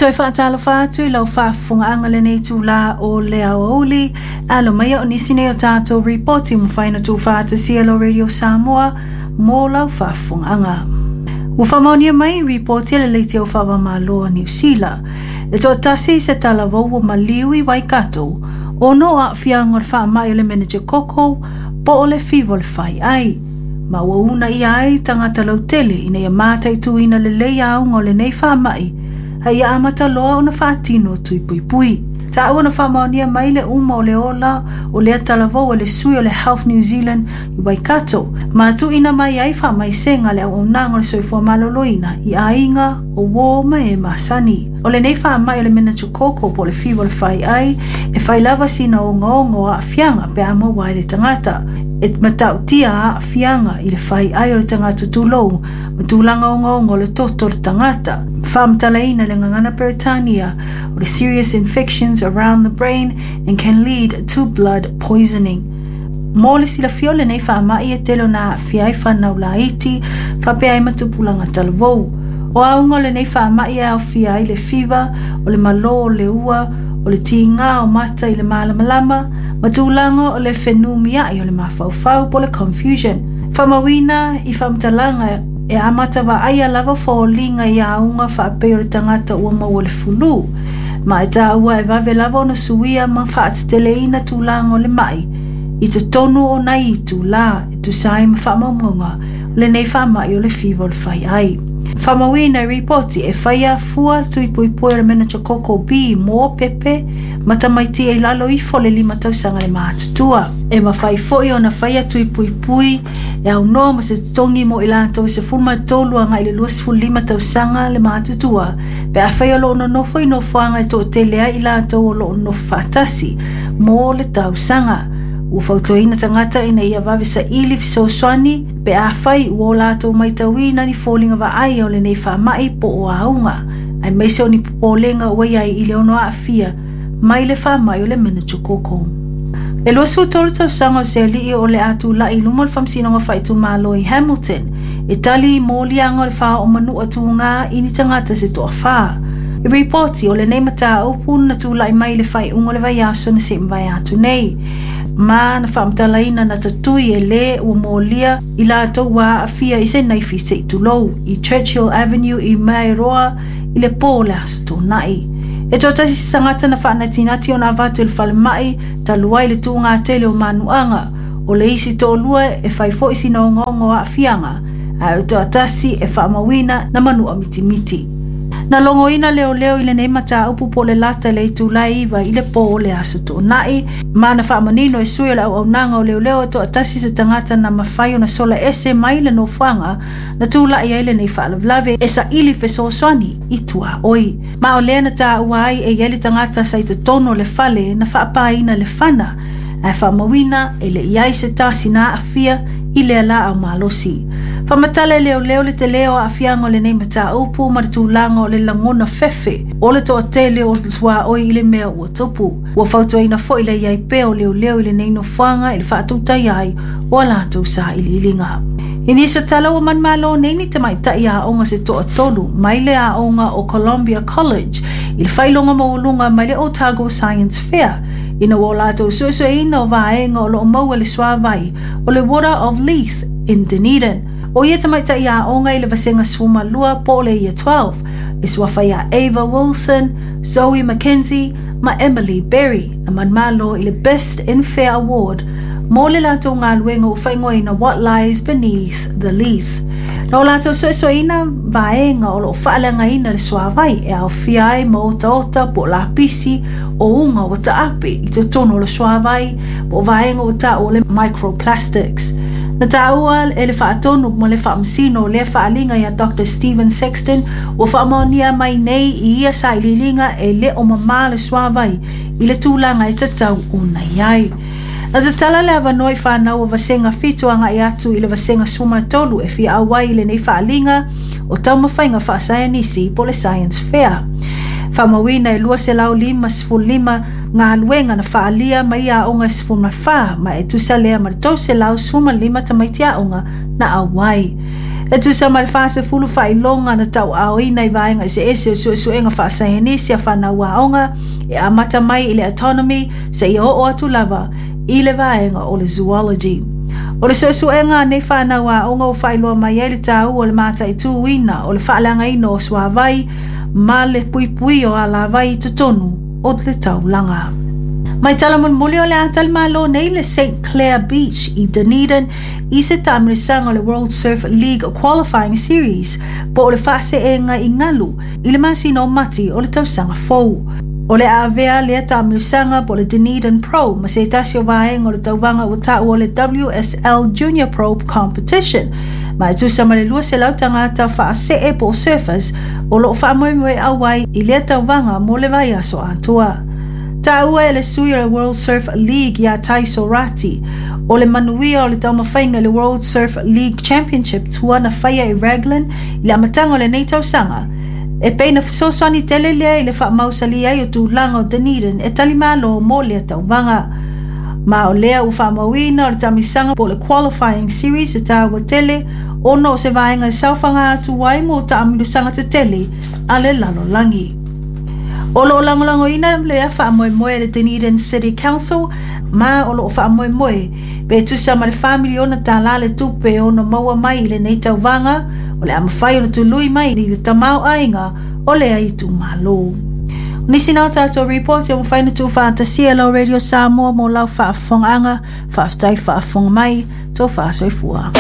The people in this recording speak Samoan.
toe faatalofa atu i lau faafofogaaga lenei itulā o le aoauli. Alo maia o nisi nei o tatou ripoti ua mafai ona tuufaatasia e lau Radio Samoa mo lau faafofogaaga. Ua faamaonia mai ripoti a le Leitio Faava-o-Malo a Niu Sila, e toatasi se talavou ua maliu i Waikato ona o aafiaga o le faamai o le meningococcal po o le fiva o le faiai, ma ua uunaia ai tagata lautele ina ia mataituina lelei auga o lenei faamai a ia amata loa ona faatino tui puipui. Taua na faamaonia mai le uma o le ola o lea talavou e le sui o le Health New Zealand i Waikato, ma tuuina mai ai faamaisega a le auaunaga o le soifua maloloina i aiga o uō ma e masani. O lenei faamai o le meningococcal po o le fiva o le faiai e fai lava sina ogaoga o aafiaga pe a maua ai le tagata. E matautia aafiaga i le faiai o le tagata tulou ma tulaga ogaoga o le toto o le tagata. Faamatalaina i le gagana Peretania o le serious infections around the brain and can lead to blood poisoning. Mo le silafia o lenei faamai e tele ona aafia ai fanau laiti faapea ai ma tupulaga talavou. O auga o lenei faamai e aofia ai le fiva, o le malō o le ua, o le tigā o mata i le malamalama, ma tulaga o le fenumiai o le mafaufau po o le confusion. Faamauina i faamatalaga e amata vaaia lava foliga i auga faapei o le tagata ua maua le fulu, ma e taua e vave lava ona suia ma faateteleina tulaga o le mai i totonu o nai itulā e tusa ai ma faamaumauga o lenei faamai o le fiva o le faiai. Faamauina i ripoti e faia fua tui puipui o le meningococcal B mō pepe ma tamaiti e i lalo ifo o le 5 tausaga le matutua. E mafai foi ona faia tui puipui e aunoa ma se totogi mo i latou e 13 agai i le 25 tausaga le matutua pe afai o lo o nonofo i nofoaga e toatele ai i latou o lo o nonofo faatasi mo le tausaga. Ua fautuaina tagata ina ia vave saili fesoasoani pe afai ua o latou matauina ni foliga vaaia o lenei faamai po o auga, aemaise o ni popolega ua i ai i le ono aafia mai le faamai o le meningococcal. E 23 tausaga o se alii o le a tulai i luma o le Faamasinoga Faaitumalo i Hamilton e tali i moliaga o le faaoomanua tūgā i ni tagata se toafā. I ripoti o lenei mataupu na tulai mai i le faaiuga o le vaiaso na se i mavae atu nei, ma na faamatalaina na tatui e lē ua molia i latou ua aafia i se naifi se i tulou i Churchill Avenue i Maeroa i le pō o le Aso Toonai. E toatasi se tagata na faanatinati ona avatu i le falemai talu ai le tūgā tele o manuaga. O le isi toalua e fai foi sina ogaoga o aafiaga, ae o le toatasi e faamauina na manua mitimiti. Na logoina leoleo i lenei mataupu po o le lata i le itula e 9 i le pō o le Aso Toonai, ma na faamanino e sui o le auaunaga o leoleo e toatasi se tagata na mafai ona sola ese mai le nofoaga na tulai ai lenei faalavelave e saili fesoasoani i tuaoi. Ma o lea na taua ai e i ai le tagata sa i totonu o le fale na faapaina le fana, ae faamauina e le i ai se tasi na aafia i lea laau malosi. Faamatala e leoleo le telē o aafiaga o lenei mataupu ma le tulaga o le lagona fefe o le toatele o tuaoi i le mea ua tupu. Ua fautuaina foi le i ai pea o leoleo i lenei nofoaga i le faatautaia ai o a latou sailiiliga. I nisi o tala ua manumalo nei ni tamaitai aoga se toatolu mai le aoga o Columbia College i le faailoga maualuga mai le Otago Science Fair ina ua o latou suesueina o vaega o lo o maua i le suavai o le Water of Leith in Dunedin. O ia tamaitai aoga i le vasega 12 po o le Year 12, e suafa ia Ava Wilson, Zoe McKenzie ma Emily Berry na manumalo i le Best in Fair Award mo le latou galuega ua faaigoaina What Lies Beneath the Leith. Na o latou suesueina vaega o lo o faaleagaina le suavai e aofia ai ma otaota po o lapisi o uga ua taape i totonu o le suavai po o vaega ua taua o le microplastics. Na taua e le faatonu ma le faamasino o lea faaaliga ia Doctor Stephen Sexton ua faamaonia mai nei i ia sailiiliga e le o mamā le suavai i le tulaga e tatau ona i ai. Na tatala le avanoa i fanau o vasega 7 agai atu i le vasega 13 e fia auai i lenei faaaliga o taumafaiga faasaienisi po o le Science Fair. Faamauina e 255 galuega na faalia mai aoga e 14 ma e tusa lea ma le 315 tamaiti aoga na auai. E tusa ma le 40 faailoga na tauaaoina i vaega eseese o suesuega faasaienisi a fanau aoga e amata mai i le Autonomy seia oo atu lava i le vaega o le Zoology. O le suesuega a nei fanau aoga ua faailoa mai ai le taua o le mataituina o le faaleagaina o suavai ma le puipuia o alavai i totonu o le taulaga. Mai tala mulimuli o le a talimalo nei le St. Clair Beach i Dunedin i se taamilosaga o le World Surf League Qualifying Series po o le faaseega i galu i le masina o Mati o le tausaga fou. O le a avea lea taamilosaga po o le Dunedin Pro ma se tasi o vaega o le tauvaga ua taua o le WSL Junior Pro Competition ma e tusa ma le 200 tagata faasee po o surfers o lo o faamoemoe auai i lea tauvaga mo le vaiaso atoa. Taua e le sui o le World Surf League ia Tai Sorati, o le manuia o le taumafaiga i le World Surf League Championship tua na faia i Raglan i le amataga o lenei tausaga, e pei na fesoasoani tele lea i le faamausali ai o tulaga o Dunedin e talimalo mo lea tauvaga. Ma o lea ua faamauina o le taamilosaga po o le Qualifying Series e taua tele ona o se vaega e saofaga atu ai mo taamilosaga tetele a le lalolagi. O lo o lagolagoina lea faamoemoe e le Dunedin City Council ma o lo o faamoemoe pe tusa ma le $4 miliona le tupe e ono maua mai i lenei tauvaga o le a mafai ona tului mai i le tamaoaiga o lea itumalo. O nisi na o tatou ripoti o mafai ona tuufaatasia e lau Radio Samoa mo lau faafofogaaga. Faafetai faafofoga mai, tofa soifua.